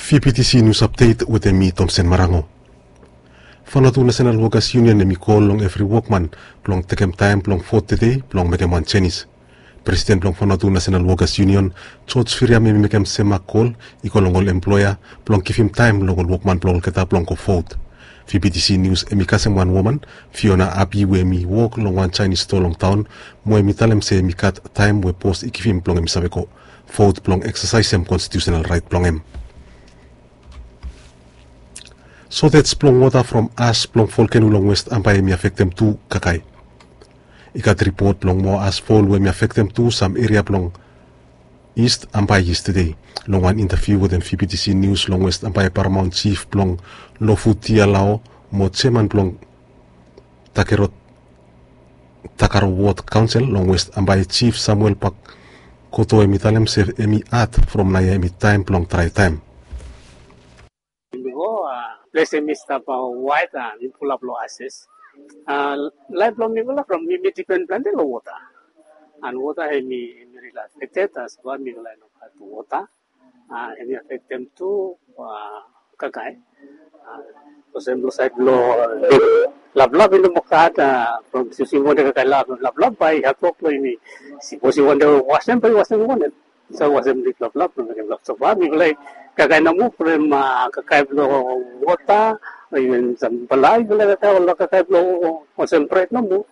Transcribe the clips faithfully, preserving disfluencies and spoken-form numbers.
V B T C News Update wetem mi, Tomsen Marango. Vanuatu National Workers Union hemi kol long evri wokman blong tekem taem blong vot tede blong mekem wan jenis. Presiden blong Vanuatu National Workers Union, George Firiam, hemi mekem sem mak kol i go long ol emploea blong givim taem long ol wokman blong olgeta blong go vot. V B T C News hemi kasem wan woman, Fiona Abi, we hemi wok long wan Jaenis stoa long taon, mo hemi talem se hemi gat taem we bos i givim blong hemi save go vot blong eksasaesem konstitiusenal raet blong hem. Sotej blong wota from as blong volkeno long West Ambae hemi afektem tu kakae. I gat ripot blong moa as fol we hemi afektem tu sam eria blong East Ambae yestede. Long wan intaviu wetem V B T C News long West Ambae, Paramount Chief blong Lofu Tialao mo jeaman blong Takero Takaro Ward Council long West Ambae, Chief Samuel Pakoto, hemi talem se hemi had from naoia hemi taem blong drae taem. Bifo, a, ples hemi stap waet, a, hemi fulap long ases. A, laef blong mifala from mifala i dipen plante long wota. An wota hemi, hemi rili afekted, a, sapos mifala i no gat wota. A, hemi afektem tu, a, kakae. A, olsem long saed blong, a, laplap i no moa gat, a, from yusing wanem kakae laplap, bae i hadwok long yumi. Sapos i wantem wasem, bae i wasem wanem. So wasem lif laplap blong mekem laplap. So far mifala i kakae nomo from, a, kakae blong wota, o iven sam bae mifala i kakae ol kakae blong olsem bred nomo.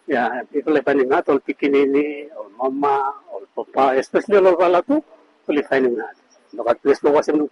Ya, mifala i faenem had, ol pikinini, ol mama, ol papa, espeseli ol olfala tu, oli faenem had. Nogat ples blong wasem